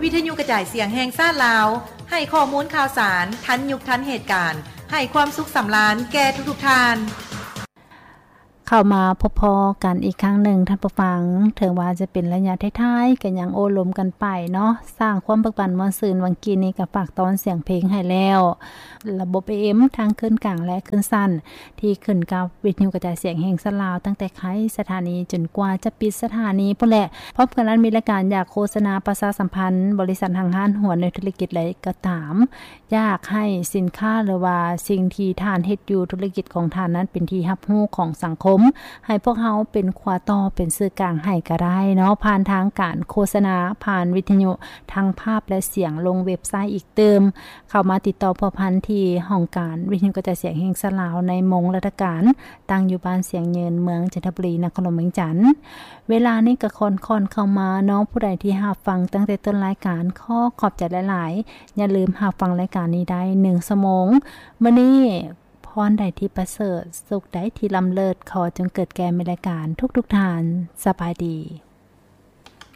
ວິທະຍຸກະຈາຍສຽງແຫ່ງຊາດລາວ ໃຫ້ຂໍ້ມູນຂ່າວສານ ທັນຍຸກທັນເຫດການ ໃຫ້ຄວາມສຸກສຳລານແກ່ທຸກໆທ່ານ. ເຂົ້າມາພົບພໍ້ກັນອີກຄັ້ງໜຶ່ງທ່ານຜູ້ຟັງ, ເຖິງວ່າຈະເປັນໄລຍະທ້າຍໆ ກໍຍັງໂອ້ລົມກັນໄປເນາະ, ສ້າງຄວາມເບີກບານມ່ວນຊື່ນ. ຫວ່າງກີ້ນີ້ກໍຝາກຕ້ອນສຽງເພງໃຫ້ແລ້ວ. ລະບົບເອເອັມ ທັງຄື້ນກາງ ແລະ ຄື້ນສັ້ນ ທີ່ຂຶ້ນກັບວິທະຍຸກະຈາຍສຽງແຫ່ງຊາດລາວ ຕັ້ງແຕ່ໄຄສະຖານີຈົນກວ່າຈະປິດສະຖານີພຸ້ນແຫຼະ. ພ້ອມກັນນັ້ນມີລາຍການຢາກໂຄສະນາປະຊາສຳພັນບໍລິສັດຫ້າງຮ້ານຫົວໜ່ວຍທຸລະກິດໃດກໍຕາມ, ຢາກໃຫ້ສິນຄ້າ ຫຼືວ່າສິ່ງທີ່ທ່ານເຮັດຢູ່ທຸລະກິດຂອງທ່ານນັ້ນເປັນທີ່ຮັບຮູ້ຂອງສັງຄົມ, ໃຫ້ພວກເຮົາເປັນຂົວຕໍ່ ເປັນສື່ກາງໃຫ້ກໍໄດ້ເນາະ, ຜ່ານທາງການໂຄສະນາ, ຜ່ານວິທະຍຸ, ທັງພາບ ແລະ ສຽງ, ລົງເວັບໄຊອີກຕື່ມ. ເຂົ້າມາຕິດຕໍ່ພົວພັນທີ່ຫ້ອງການວິທະຍຸກະຈາຍສຽງແຫ່ງຊາດລາວໃນມົງລັດຖະການ, ຕັ້ງຢູ່ບ້ານຊຽງເຍີນ, ເມືອງຈັນທະບູລີ, ນະຄອນຫຼວງວຽງຈັນ. ເວລານີ້ກໍຄ່ອນໆເຂົ້າມາເນາະ, ຜູ້ໃດທີ່ຮັບຟັງຕັ້ງແຕ່ຕົ້ນລາຍການ ຂໍຂອບໃຈຫຼາຍໆ. ຢ່າລືມຮັບຟັງລາຍການນີ້ໄດ້ໜຶ່ງຊົ່ວໂມງ. ມື້ນີ້ ພອນໃດທີ່ປະເສີດ, ສຸກໃດທີ່ລ້ຳເລີດ, ຂໍຈົ່ງເກີດແກ່ແມ່ນລາຍການທຸກໆທ່ານ. ສະບາຍດີ.